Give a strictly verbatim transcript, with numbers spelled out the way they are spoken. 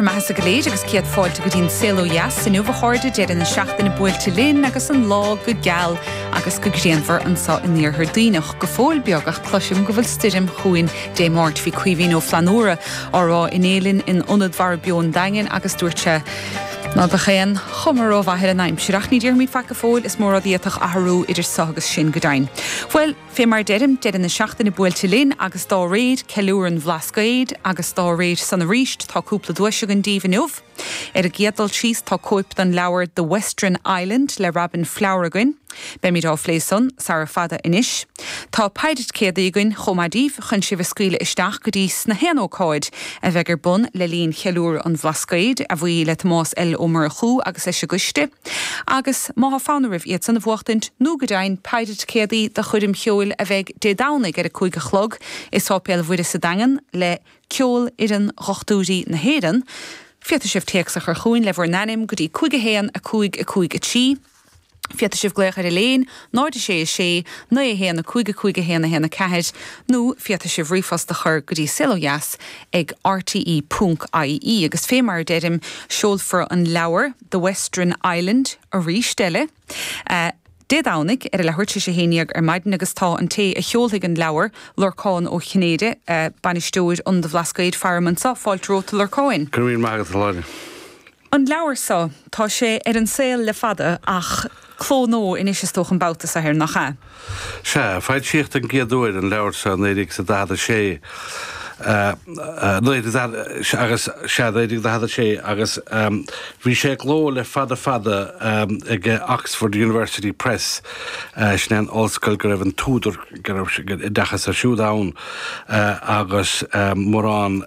Bhur mbeatha go léir agus céad fáilte go dtí an Saol Ó Dheas inniu a chairde deireadh na seachtaine buailte linn agus an lá go geal agus go grianmhar anseo in iarthar Duibhneach go fóill beag ach cloisim go bhfuil stoirm chugainn Dé Máirt bhí Caoimhín Ó Flannúra á rá inné linn in ionad Mhara Beo an Daingin agus dúirt sé ná beadh aon chuma rómhaith ar an aimsir ach ní déarfaimid faic go fóill is mór rud a d'fhéadfadh athrú idir seo agus sin go deimhin. Well, fé mar deirim deireadh na seachtaine buailte linn agus dá réir ceiliúradh an Bhlascaoid agus dá réir san arís tá cúpla duais againn daoibh inniu. Ar an gcéad dul síos tá cóip den leabhar The Western Island le Robin Flower againn. Beimid á phlé san sara fada anois. Tá paire ticéadaí againn chomh maith daoibh chun sibh a scaoileadh isteach go dtí sna haon ócáid a bheidh ar bun le linn cheiliúradh an Bhlascaoid a bhuí le Tomás L Ó Murchú agus leis an gcoiste. Agus má tá fonn oraibh iad san a bhuachtaint nó go deimhin paire ticéadaí do choirm cheoil a bheidh Dé Domhnaigh ar a cúig a chlog i Séipéal Mhuire sa Daingean le Ceolfhoireann Dhochtúirí na hÉireann. Féadfaidh sibh téacs a chur chugainn le bhur n-ainm go dtí cúig a haon a cúig a cúig a trí. Féadfaidh sibh glaoch ar an líne náid sé a sé naoi a haon a cúig a cúig a haon a haon a ceathair nó féadfaidh sibh ríomhphost a chur go dtí saolodheas ag RTE ponc IE agus fé mar a deirim seolfar an leabhar The Western Island arís eile. Uh, Dé Domhnaigh ar a leathuair tar éis a haon déag ar maidin agus tá an té a sheolfaidh an leabhar Lorcán Ó Cinnéide uh, bainisteoir an Bhlascaoid faram anseo fáilte romhat Lorcáin. Go raibh maith agat Láine. An leabhar seo tá sé ar an saol le fada ach cló nua anois is dócha an babhta seo air nach ea. Sea, foilsíodh den gcéad uair an leabhar seo naoi déag sa daichead a sé agus sea naoi déag daichead a sé agus bhí sé i gcló le fada fada ag Oxford University Press sin an ollscoil go raibh an t-údar go raibh oideachas ar siúd ann agus mórán